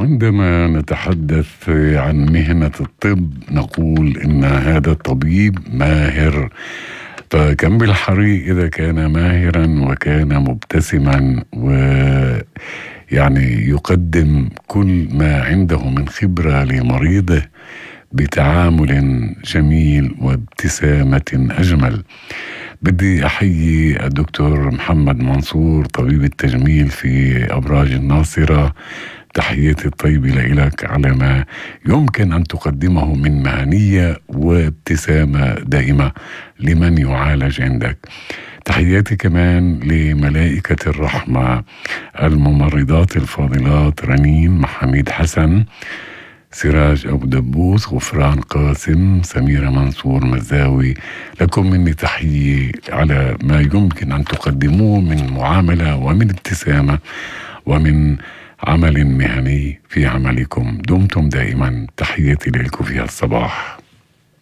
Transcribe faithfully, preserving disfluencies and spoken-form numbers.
عندما نتحدث عن مهنة الطب نقول إن هذا الطبيب ماهر، فكم بالحري إذا كان ماهرا وكان مبتسما ويعني يقدم كل ما عنده من خبرة لمريضه بتعامل جميل وابتسامة أجمل. بدي أحيي الدكتور محمد منصور طبيب التجميل في أبراج الناصرة، تحياتي الطيبة لك على ما يمكن أن تقدمه من مهنية وابتسامة دائمة لمن يعالج عندك. تحياتي كمان لملائكة الرحمة الممرضات الفاضلات رنين محمد حسن، سراج أبو دبوس، غفران قاسم، سميرة منصور مزاوي. لكم مني تحية على ما يمكن أن تقدموه من معاملة ومن ابتسامة ومن عمل مهني في عملكم. دمتم دائما، تحياتي لكم في الصباح.